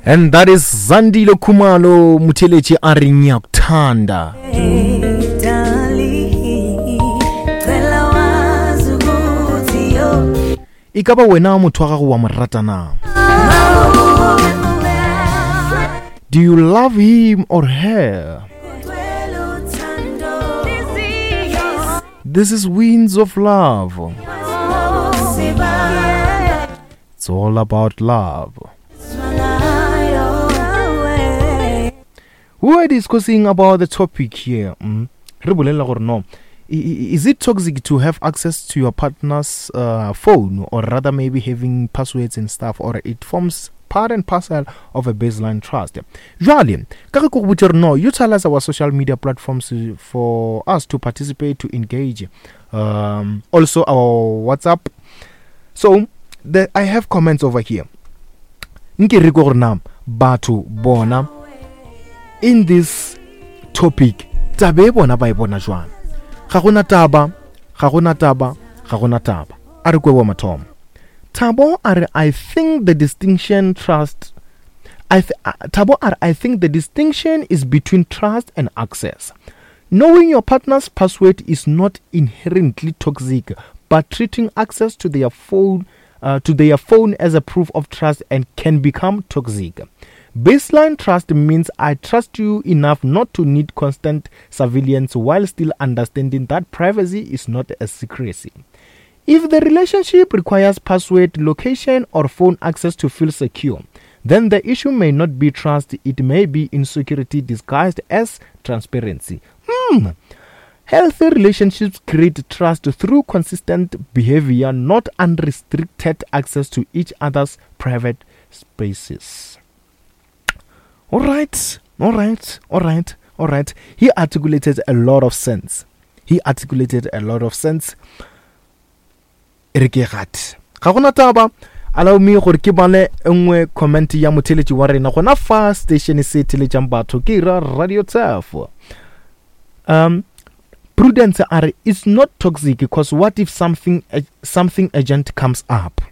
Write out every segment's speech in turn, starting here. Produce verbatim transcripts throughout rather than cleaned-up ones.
And that is Zandile Khumalo motheletši a re ngiyakuthanda. E ka ba wena motho wa gago wa mo rata na? Do you love him or her? This is Winds of Love. It's all about love. We are discussing about the topic here. Mm. Re bolela gore no, is it toxic to have access to your partner's uh, phone, or rather maybe having passwords and stuff, or it forms part and parcel of a baseline trust? Jwale, ka re ko go botse no, utilize our social media platforms for us to participate, to engage. Um, also our WhatsApp. So, the, I have comments over here. Nke re ko gore na batho bona in this topic tabe bona ba e bona jwang? Ga gona taba, ga gona taba, ga gona taba. A re kwe wa mathomo. Thabo a re, I think the distinction trust I th- uh, Thabo a re, I think the distinction is between trust and access. Knowing your partner's password is not inherently toxic, but treating access to their phone uh, to their phone as a proof of trust and can become toxic. Baseline trust means I trust you enough not to need constant surveillance while still understanding that privacy is not a secrecy. If the relationship requires password, location, or phone access to feel secure, then the issue may not be trust, it may be insecurity disguised as transparency. Hmm. Healthy relationships create trust through consistent behavior, not unrestricted access to each other's private spaces. All right, all right, all right, all right. He articulated a lot of sense. He articulated a lot of sense. E re ke gate. Ga gona taba. Allow me gore ke bale nngwe comment ya motheletši wa rena gona fa station se theletšang batho ke ra Radio Turf. Um, Prudence a re, it's not toxic because what if something, uh, something urgent comes up?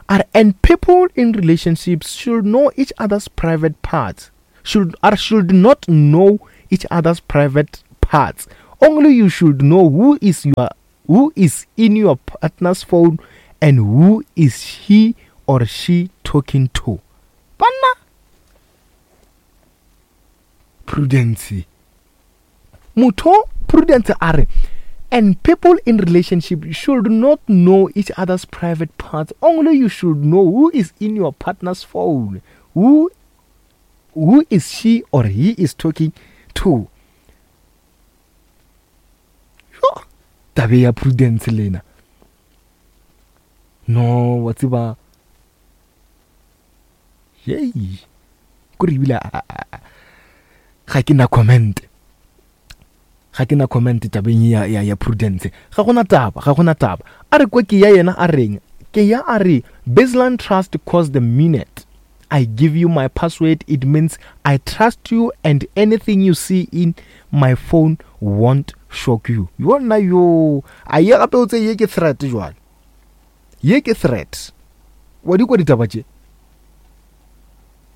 Are, and people in relationships should know each other's private parts. Should or should not know each other's private parts. Only you should know who is your who is in your partner's phone and who is he or she talking to. Banna. Prudence. Motho Prudence a re, and people in relationship should not know each other's private parts. Only you should know who is in your partner's phone. Who, who is she or he is talking to. Yo, tabe ya Prudence lena. No, wa tseba. Yei. Ko re ebile a, a, a, ga ke na comment. Ga ke na comment tabeng ya, ya, ya Prudence. Ga gona taba, ga gona taba. A re kwa ke ya yena a reng? Ke ya a re, baseline trust cause the minute I give you my password, it means I trust you and anything you see in my phone won't shock you. Yona yo, a ye gape o tse ye ke threat jwale. Ye ke threat. Wa di kwa ditaba tše?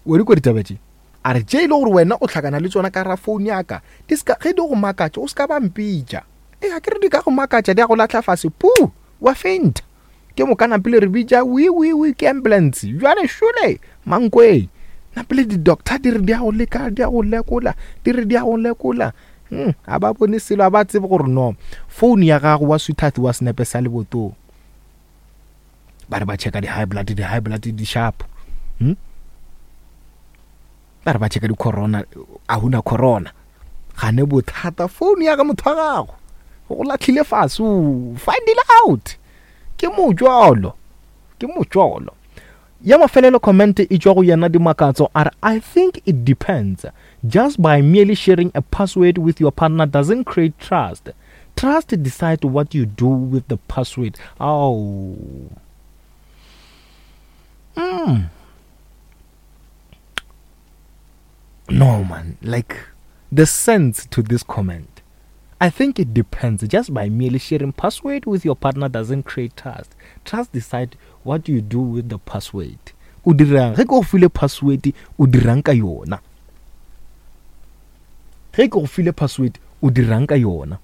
Wa di kwa ditaba tše? A re tše e le gore wena o tlhakana le tsona ka ra phone ya ka, di ska, ge di go makatša, o ska ba mpitša. E, a ke re di ka go makatša, di a go lahla fase, pu, wa faint. Ke moka napile re bitša, wi, wi, wi, ke ambulance. Jwale šole, mankwe. Napile di-doctor di re di a go leka, di a go lekola, di re di a go lekola. Hmm, a ba bone selo, a ba tsebe gore no, phone ya gago wa sweetheart wa senepe sa lebotong. Ba re ba checka di-high blood, di-high blood di sharp. Hmm? Ba re ba checka di-corona, a huna corona. Gane bothata, phone ya ga motho wa gago. O go lahlile fase, o find it out. Ke mojolo, ke mojolo. Ya mafelelo comment e tšwa go yena Dimakatso a re, I think it depends. Just by merely sharing a password with your partner doesn't create trust. Trust decide what you do with the password. Oh. Mm. No, man. Like, the sense to this comment. I think it depends. Just by merely sharing password with your partner doesn't create trust. Trust decide what you do with the password. O dirang ge ke go file password, o dirang ka yona? Ge ke go file password, o dirang ka yona?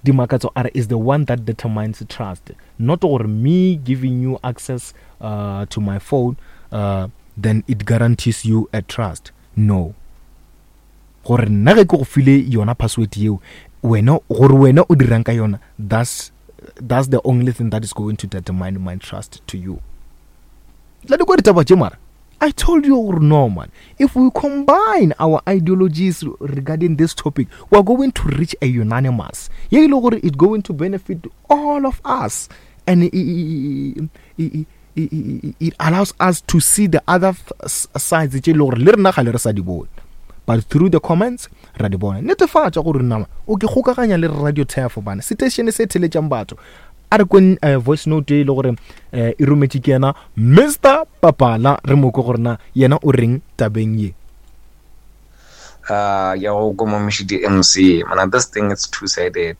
Dimakatso are is the one that determines trust, not gore me giving you access uh, to my phone, uh, then it guarantees you a trust. No, gore nna ge ke go file yona password yeo, wena gore wena o dirang ka yona, that's that's the only thing that is going to determine my trust to you. La di kwa ditaba tše mara I told you no, man, if we combine our ideologies regarding this topic, we are going to reach a unanimous ye e le gore it's going to benefit all of us, and it, it, it, it, it allows us to see the other sides tše e le gore le rena ga le re sa di bone, but through the comments ra di bona. Netefatša gore nama o ke kgokaganya le Radio Turf bana station se theletšang batho. A re kweng uh, voice note e le gore uh, e rometše ke yena Mister Papala, re mo kwe gore na yena o reng tabeng ye. Uh, ya go ko Moshidi M C, man, this thing is two-sided.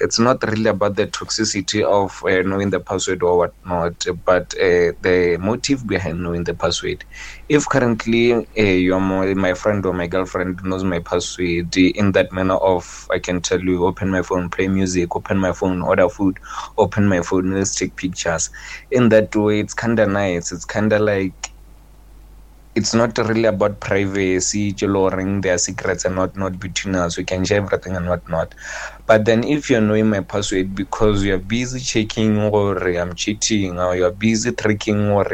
It's not really about the toxicity of uh, knowing the password or whatnot, but uh, the motive behind knowing the password. If currently uh, you're my, my friend or my girlfriend knows my password in that manner of, I can tell you, open my phone, play music, open my phone, order food, open my phone, let's take pictures. In that way, it's kinda nice. It's kinda like, it's not really about privacy, lowering their secrets and whatnot between us. We can share everything and whatnot. But then if you're knowing my password because you're busy checking or I'm cheating, or you're busy tracking or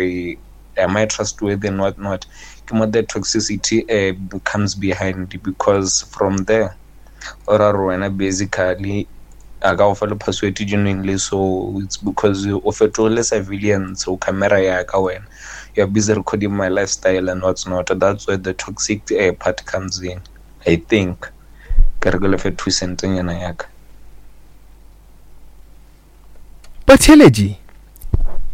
am I trustworthy and whatnot, the toxicity uh, comes behind, because from there, or basically, I got a password genuinely, so it's because you offer to civilians, so camera ya ka wena. You're busy recording my lifestyle and what's not. That's where the toxic uh, part comes in, I think. Ke re ke lefe two cent nyana ya ka. Batheletši,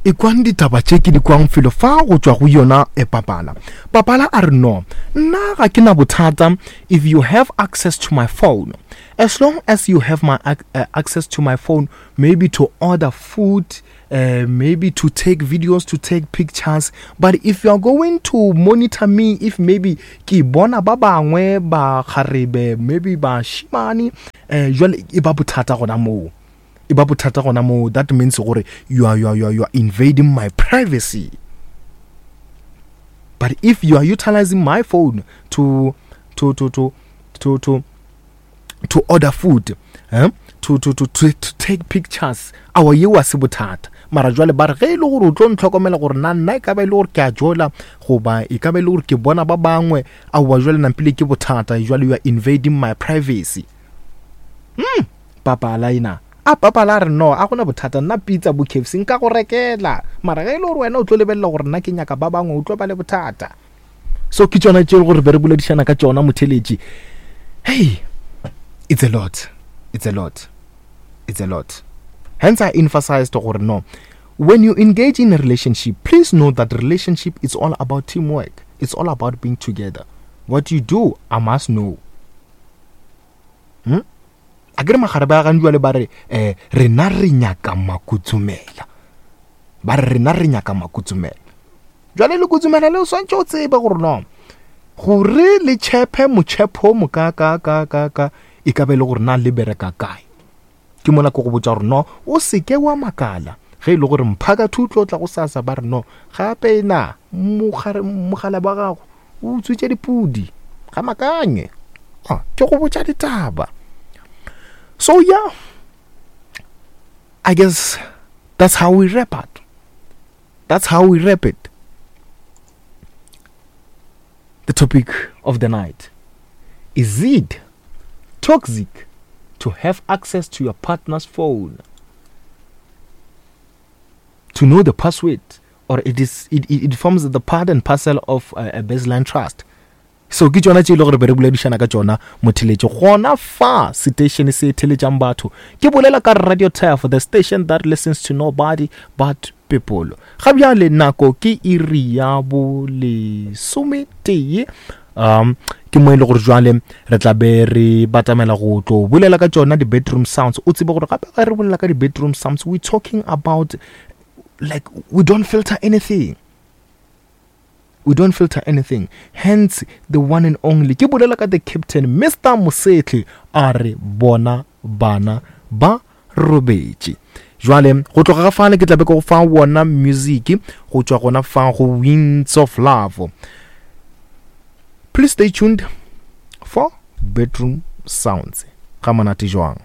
e kwang ditaba tše ke di kwang felo fa go tšwa go yona e Papala. Papala a re no, nna ga ke na bothata if you have access to my phone. As long as you have my ac- uh, access to my phone, maybe to order food, uh, maybe to take videos, to take pictures. But if you are going to monitor me, if maybe ke bona ba bangwe ba kgarebe, maybe ba shimane, eh, jwale e ba bothata gona moo. E ba bothata gona moo. That means gore you are, you are, you are, you are invading my privacy. But if you are utilizing my phone to, to, to, to, to, to, to order food, eh? to, to, to, to, to take pictures, awa yeo a se bothata. Mara jwale ba re ge e le gore o tlo ntlhokomela gore na nna e ka ba e le gore ke a jola goba e ka ba e le gore ke bona ba bangwe, aowa jwale nampile ke bothata, jwale you are invading my privacy. Hmm, Papala ena. A Papala a re no, a gona bothata, nna pizza bo K F C nka go rekela. Mara ge e le gore wena o tlo lebelela gore nna ke nyaka ba bangwe, o tlo ba le bothata. So ke tšona tše e le gore be re boledišana ka tšona motheletši. Hey, it's a lot. It's a lot. It's a lot. Hence I emphasized gore no, when you engage in a relationship, please know that relationship is all about teamwork. It's all about being together. What you do, I must know. Hmm? A ke re magare ba gantsi jwale ba re, eh, rena re nyaka makutsumela. Ba re rena re nyaka makutsumela. Jwale le kutsumela le o swantse o tsebe gore no, gore le tšhepe motšhepo mo ka, ka, ka, ka, ka, e ka be le gore na le bereka kae. Ke mona ke go botša gore no, o seke wa makala ge e le gore mphaka thutlo o tla go sasa ba re no, gape na mogare, mogala ba gago o utswitše dipudi, ga makanye. Ah, ke go botša ditaba. So yeah, I guess that's how we wrap it. That's how we wrap it. The topic of the night. Is it toxic to have access to your partner's phone? To know the password, or it is it, it, it forms the part and parcel of a, a baseline trust. So ke tšona tše e le gore be re boledišana ka tšona motheletši gona fa station se theletšang batho. Ke bolela ka Radio Turf, the station that listens to nobody but people. Ga bjale nako ke iri ya bo lesometee. Um, ke mo e le gore jwale re tla be re batamela go tlo bolela ka tšona di-bedroom sounds. O tsebe gore gape ge re bolela ka di-bedroom sounds, we talking about Like, we don't filter anything. We don't filter anything. Hence the one and only, ke bolela ka the captain, Mister Mosetle, a re bona bana ba robetše. Jwale go tloga ga fale ke tla be ke go fa wona music go tšwa gona fa go Winds of Love. Please stay tuned for Bedroom Sounds. Ga monate jwang.